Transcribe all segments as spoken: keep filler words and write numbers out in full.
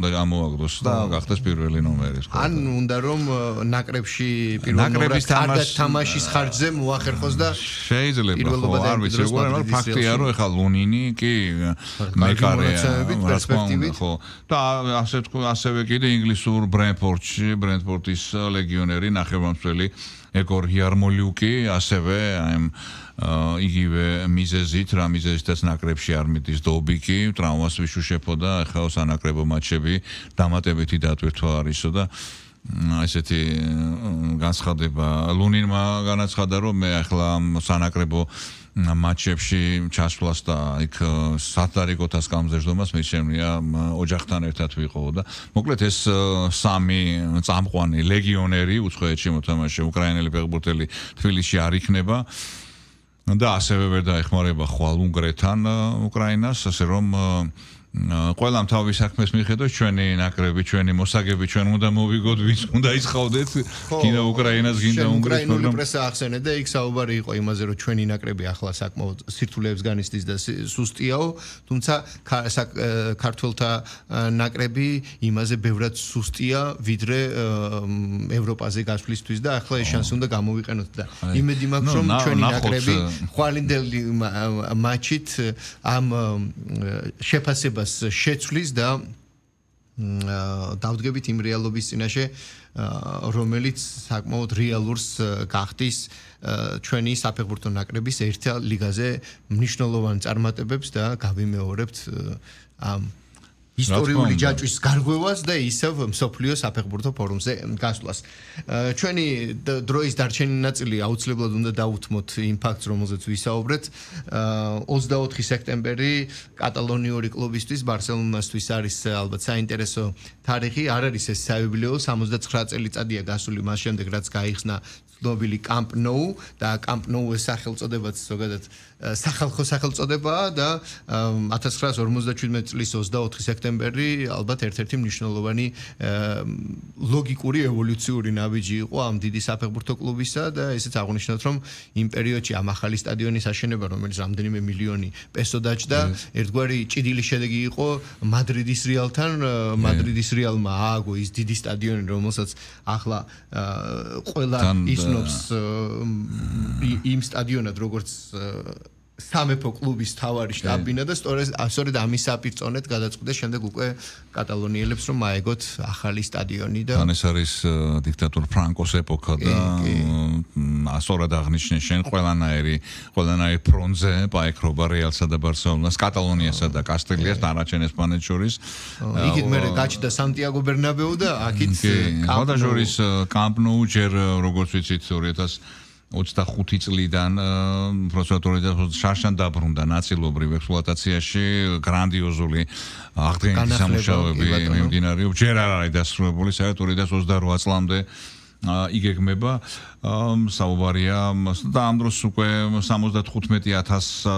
და გამოაგდოს და გახდეს პირველი ნომერი. ან უნდა რომ ნაკრებში პირველ ნომერად კარგად თამაშის ხარჯზე მოახერხოს და შეიძლება ხო არ ვიცი როგორ არის ფაქტია რომ ეხლა ლუნინი კი მეკარეა პერსპექტივით ხო და ასე თქვა ასევე კიდე ინგლისურ ბრენფორდში ბრენფორდის ლეგიონერი ნახევარმცველი ეგორ იარმოლიუკი ასევე აი იგივე მიზეზით რა მიზეზითაც ნაკრებში არ მიდის დობიკი ტრავმას ვიშუშეფო და ახლა სანაკრებო მატჩები დამატებითი დატვირთვა არისო და ესეთი განცხადება ლუნინმა განაცხადა რომ მე ახლა სანაკრებო მატჩებში ჩასვლას და იქ სატარიკოთას გამზერდომას მე შემია ოჯახთან ერთად ვიყო და მოკლედ ეს სამი წამყვანი ლეგიონერი უცხოეთში მოთამაშე უკრაინელი ფეხბურთელი თბილისში არ იქნება და ასევე ვერ დაეხმარება ხვალ უნგრეთთან უკრაინას ასე რომ ყველამ თავის საქმეს მიხედოს ჩვენი ნაკრები ჩვენი მოსაგები ჩვენ უნდა მოვიგოთ ვის უნდა ისხავდეთ კიდე უკრაინას გინდა უნგრეთს უკრაინული პრესა ახსენე და იქ საუბარი იყო იმაზე რომ ჩვენი ნაკრები ახლა საკმაოდ სირთულეებს განიცდის და სუსტიაო თუმცა ქართველთა ნაკრები იმაზე ბევრად სუსტია ვიდრე ევროპაზე გასვლისთვის და ახლა ეს შანსი უნდა გამოვიყენოთ და იმედი მაქვს რომ ჩვენი ნაკრები ხვალინდელი მატჩით ამ შეფასება შეცვლის და დავდგებით იმ რეალობის წინაშე რომელიც საკმაოდ რეალურს გახდის ჩვენი საფეხბურთო ნაკრების ერთა ლიგაზე მნიშვნელოვან წარმატებებს და გავიმეორებთ ამ ისტორიული ჯაჭვის გარღვევას და ისევ მსოფლიო საფეხბურთო ფორუმზე გასვლას. ჩვენი დროის დარჩენილი ნაწილი აუცილებლად უნდა დაუთმოთ იმ ფაქტს, რომელზეც ვისაუბრეთ. ოცდაოთხი სექტემბერი კატალონიური კლუბისთვის ბარსელონასთვის არის ალბათ საინტერესო თარიღი. არ არის ეს საიუბილეო, სამოცდაცხრა წელიწადია გასული მას შემდეგ, რაც გაიხსნა ცნობილი Camp Nou და Camp Nou ეს სახელწოდებაც ზოგადად სახალხო სახელწოდებაა და ათას ცხრაასი ორმოცდაჩვიდმეტი წლის ოცდაოთხი სექტემბერი ალბათ ერთ-ერთი მნიშვნელოვანი ლოგიკური ევოლუციური ნაბიჯი იყო ამ დიდი საფეხბურთო კლუბისა და ესეც აღნიშნოთ რომ იმ პერიოდში ამ ახალი სტადიონის აშენება რომელიც რამდენიმე მილიონი პესო დაჭდა ერთგვარი ჭიდილი შედეგი იყო მადრიდის რეალთან მადრიდის რეალმა ააგო ის დიდი სტადიონი რომელსაც ახლა ყველა ისნობს იმ სტადიონად როგორც სამეფო კლუბის თავარი შტაბინა და სწორედ ამის საპირწონედ გადაწყვიტეს შემდეგ უკვე კატალონიელებს რომ აეგოთ ახალი სტადიონი და თან ეს არის დიქტატორ ფრანკოს ეპოქა და ასორად აღნიშნე შენ ყველანაირი ყველანაირი ფრონტზე პაექრობა რეალსა და ბარსელონას კატალონიასა და კასტილიას დანარჩენ ესპანეთს შორის იქით მე გაჩნდა სანტიაგო ბერნაბეუ და აქით კამპ-ნოუს კამპ-ნოუ ჯერ როგორც ვიცით ორი ათას ოცდახუთი წლიდან პროცედურით შარშან დაბრუნდა ნაწილობრივ ექსპლუატაციაში გრანდიოზული აღდგენითი სამუშაოები მიმდინარეობს ჯერ არ არის დასრულებული საერთოდ ორი ათას ოცდარვა წლამდე იგეგმება საუბარია და ამ დროს უკვე სამოცდათხუთმეტი ათასი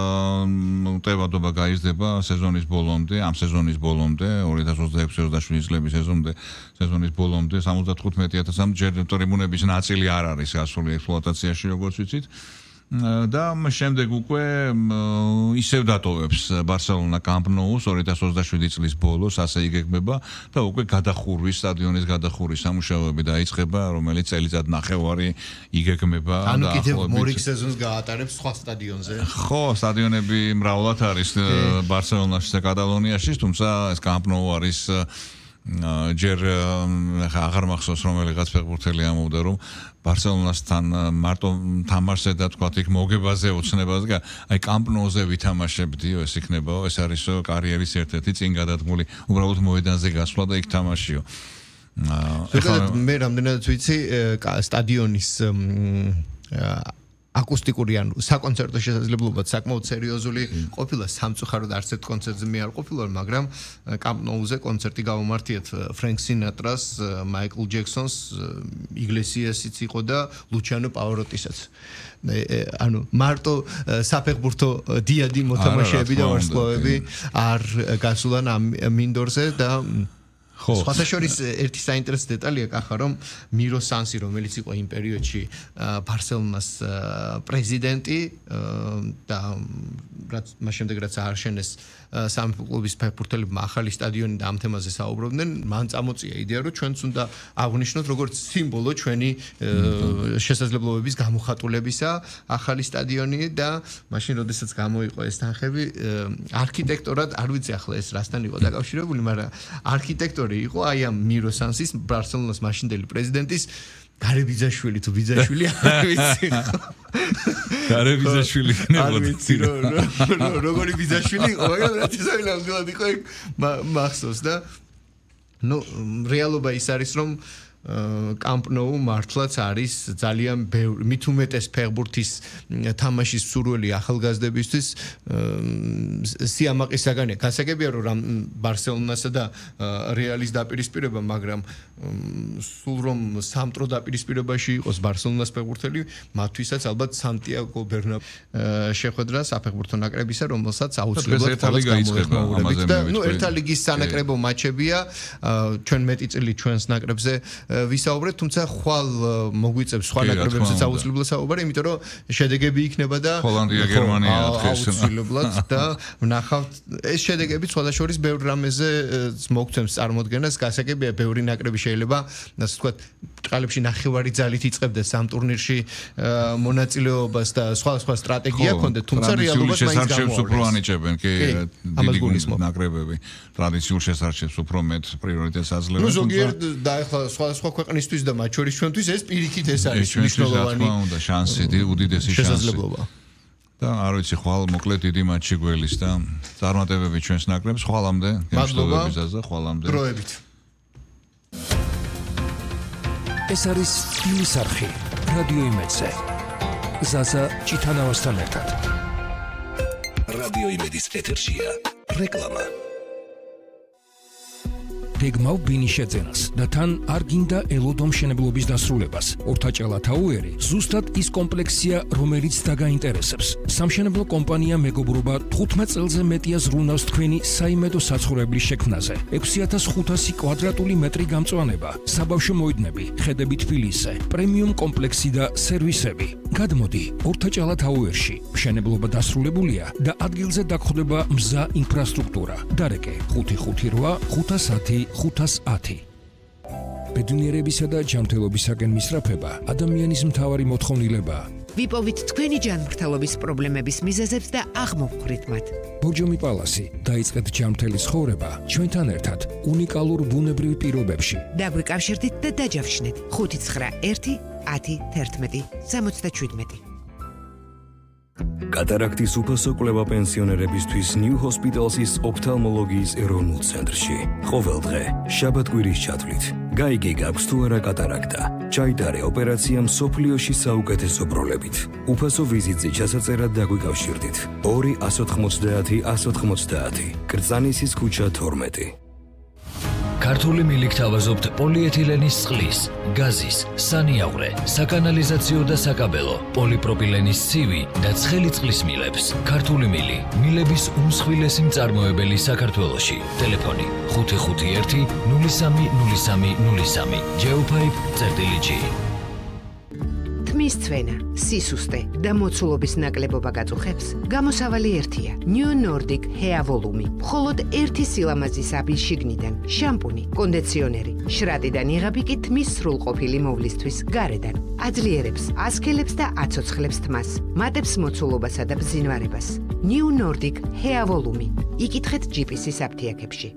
ტევადობა გაიზრდება სეზონის ბოლომდე ამ სეზონის ბოლომდე ორი ათას ოცდაექვსი ოცდაშვიდი წლების სეზონამდე სეზონის ბოლომდე სამოცდათხუთმეტი ათასამდე ჯერ ტრიბუნების ნაწილი არ არის გასული ექსპლუატაციაში როგორც ვიცით და შემდეგ უკვე ისევ დატოვებს ბარსელონა Camp Nou-ს ორი ათას ოცდაშვიდი წლის ბოლოს ასე იგეგმება და უკვე გადახურვის სტადიონის გადახურვის სამუშაოები დაიწყება რომელიც წელიწად ნახევარი იგეგმება და ანუ კიდევ მორიგ სეზონს გაატარებს სხვა სტადიონზე ხო სტადიონები მრავლად არის ბარსელონაში და კატალონიაში თუმცა ეს Camp Nou არის ჯერ აღარ მახსოვს რომელიღაც ფეხბურთელი ამბობდა რომ ბარსელონასთან მარტო თამაშზე და თქვა იქ მოგებაზე ოცნებაზე აი Camp Nou-ზე ვითამაშებდიო ეს იქნებაო ეს არის კარიერის ერთ-ერთი წინ გადადგმული უბრალოდ მოედანზე გასვლა და იქ თამაშიო ეხლა მე რამდენადაც ვიცი სტადიონის აკუსტიკური ან საკონცერტო შესაძლებლობაც საკმაოდ სერიოზული ყოფილა სამწუხაროდ არც ერთ კონცერტზე მე არ ყოფილა მაგრამ Camp Nou-ზე კონცერტი გავუმართიეთ ფრენკ სინატრას, მაიკლ ჯექსონს, იგლესიასიც იყო და ლუჩიანო პავაროტისაც. ანუ მარტო საფეხბურთო დიადი მოთამაშეები და ვარსკვლავები არ გასულან ამ მინდორზე და სხვათა შორის ერთი საინტერესო დეტალია კახა რომ მირო სანსი რომელიც იყო იმ პერიოდში ბარსელონას პრეზიდენტი და რაც მას შემდეგ რაც ააშენეს სამეფო კლუბის ფეხბურთელებმა ახალი სტადიონი და ამ თემაზე საუბრობდნენ მან წამოწია იდეა რომ ჩვენც უნდა აღვნიშნოთ როგორც სიმბოლო ჩვენი შესაძლებლობების გამოხატულებისა ახალი სტადიონი და მაშინ როდესაც გამოიყო ეს თანხები არქიტექტორად არ ვიცი ახლა ეს რასთან იყო დაკავშირებული მაგრამ არქიტექტორი იყო აი ამ მირო სანსის ბარსელონას მაშინდელი პრეზიდენტის გარებიძაშვილი თუ ბიძაშვილი არ ვიცი გარებიძაშვილი არ ვიცი როგორი ბიძაშვილი იყო მაგრამ რა თქმა უნდა იყო მახსოვს და ნუ რეალობა ის არის რომ კამპ ნოუ მართლაც არის ძალიან ბევრი მით უმეტეს ფეხბურთის თამაშის სურვილი ახალგაზრდებისთვის სიამაყის საგანია გასაგებია რომ ბარსელონასა და რეალის დაპირისპირება მაგრამ სულ რომ სამტრო დაპირისპირებაში იყოს ბარსელონას ფეხბურთელი მათთვისაც ალბათ სანტიაგო ბერნაბეუ შეხვედრა საფეხბურთო ნაკრებისა რომელსაც აუცილებლად თავის გამოეხმაურებით და ნუ ერთა ლიგის სანაკრებო მატჩებია ჩვენ მეტი წილი ჩვენს ნაკრებზე ვისაუბრეთ, თუმცა ხვალ მოგვიწევს სხვა ნაკრებებზეც აუცილებლად საუბარი, იმიტომ რომ შედეგები იქნება და ჰოლანდია, გერმანია აუცილებლად და ვნახავთ ეს შედეგები სხვადასხვა შორის ბევრ რამეზე მოგცემს წარმოდგენას, გასაგებია ბევრი ნაკრები შეიძლება, ასე ვთქვათ, ბრწყალებში ნახევარი ძალით იწყებდეს ამ ტურნირში მონაწილეობას და სხვა სხვა სტრატეგია ჰქონდეთ, თუმცა რეალობას მაინც გამოვარდნეს. უფრო ანიჭებენ კი დიდი ნაკრებები. ტრადიციულ შესარჩევს უფრო მეტ პრიორიტეტს აძლევენ. ნუ ზოგიერთ და ახლა სხვა სხვა ქვეყნისთვის და მათ შორის ჩვენთვის ეს პირიქით ეს არის მნიშვნელოვანი და შანსი უდიდესი შანსი შესაძლებლობა. და არ ვიცი ხვალ მოკლედ დიდი მატჩი გველის და წარმატებები ჩვენს ნაკრებს ხვალამდე გემშვიდობების აზრ ხვალამდე დროებით ეს არის სტილის არხი რადიო იმედზე ზაზა ჭიტანავასთან ერთად რადიო იმედის ეთერშია რეკლამა გეგმავ ბინიშეძენას და თან არ გინდა ელოდო მშენებლობის დასრულებას. ორთაჭალა თაუერი ზუსტად ის კომპლექსია, რომელიც დაგაინტერესებს. სამშენებლო კომპანია მეგობრობა თხუთმეტ წელზე მეტია ზრუნავს თქვენი საიმედო საცხოვრებლის შექმნაზე. ექვსი ათას ხუთასი კვადრატული მეტრი გამწვანება, საბავშვო მოედნები, ხედები თბილისზე, პრემიუმ კომპლექსი და სერვისები. გადმოდი ორთაჭალა თაუერში. მშენებლობა დასრულებულია და ადგილზე დაგხვდება მზა ინფრასტრუქტურა. დარეკე ხუთი ხუთი რვა ხუთას ათი ხუთას ათი. ბედნიერებისა და ჯანმრთელობისაკენ მისწრაფება ადამიანის მთავარი მოთხოვნილებაა. ვიპოვით თქვენი ჯანმრთელობის პრობლემების მიზეზებს და აღმოვხვრით მათ. ბორჯომი პალასი დაიწყეთ ჯანმრთელი ცხოვრება ჩვენთან ერთად უნიკალურ ბუნებრივ პირობებში. დაგვიკავშირდით და დაჯავშნეთ ხუთი ცხრა ერთი ათი თერთმეტი სამოცდაშვიდმეტი. კატარაქტის უფასო კვლევა პენსიონერებისთვის New Hospital's ოფთალმოლოგიის ეროვნულ ცენტრში. ყოველ დღე შაბათ-კვირის ჩათვლით გაიგე გაქვს თუ არა კატარაქტა. ჩაიტარე ოპერაცია მსოფლიოში საუკეთესო ბროლებით. უფასო ვიზიტზე ჩასაწერად დაგვიკავშირდით. ორი ათას ოთხმოცდაათი ათას ოთხმოცდაათი. კრწანისის ქუჩა თორმეტი. ქართული მილიქ თავაზობთ პოლიეთილენის წყლის, გაზის, სანიავრე, საკანალიზაციო და საკაბელო, პოლიპროპილენის ცივი და ცხელი წყლის მილებს. ქართული მილი, მილების უმსხვილესი მწარმოებელი საქართველოში. ტელეფონი ხუთი ხუთი ერთი ნული სამი ნული სამი ნული სამი. Geopipe წერტილი. თმის ცვენა, სისუსტე და მოცულობის ნაკლებობა გაწუხებს, გამოსავალი ერთია. New Nordic Hair Volume. მხოლოდ ერთი სილამაზის აბი შიგნიდან, შამპუნი, კონდიციონერი, შრატიდან იღები კი თმის სრულყოფილი მოვლისთვის გარედან. აძლიერებს, ასქელებს და აცოცხლებს თმას, მატებს მოცულობასა და ბზინვარებას. New Nordic Hair Volume. იკითხეთ ჯიპისის აფთიაქებში.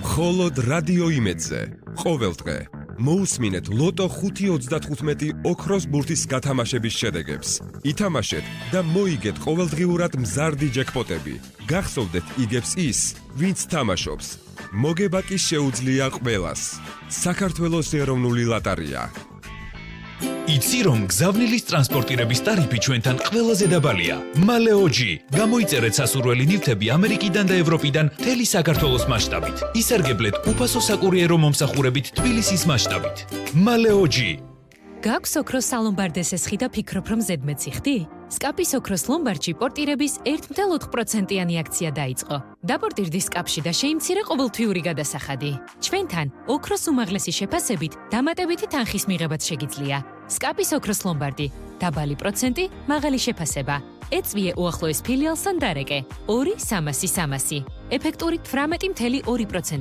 მხოლოდ რადიო იმედზე. ყოველდღე მოусმინეთ ლოტო ხუთი ოცდათხუთმეტი ოქროს ბურთის გათამაშების შედეგებს. ითამაშეთ და მოიგეთ ყოველდღიურად მზარდი ჯეკპოტები. გახსოვდეთ იგებს ის, ვინც თამაშობს. მოგება კი შეუძლია ყველას. საქართველოს ეროვნული ლოტარია. იცი რომ გზავნილის ტრანსპორტირების ტარიფი ჩვენთან ყველაზე დაბალია. მალეოჯი. გამოიწერეთ სასურველი ნივთები ამერიკიდან და ევროპიდან მთელი საქართველოს მასშტაბით. ისარგებლეთ უფასო საკურიერო მომსახურებით თბილისის მასშტაბით. მალეოჯი. გაქვს ოქროს სალომბარდესის ხი და ფიქრობ რომ ზედმეტი ხდი? სკაპის ოქროს ლომბარდში პორტირების ერთ წუთი ოთხ პროცენტიანი აქცია დაიწყო. დაპორტირდი სკაპში და შეიმცირე ყოველთვიური გადასახადი. ჩვენთან ოქროს უმაღლესი შეფასებით დამატებითი თანხის მიღებაც შეგიძლია. სკაპის ოქროს ლომბარდი. დაბალი პროცენტი, მაღალი შეფასება. ეწვიე უახლოეს ფილიალსთან დარეკე. ორი სამასი სამასი. ეფექტური თვრამეტი წუთი ორი პროცენტი.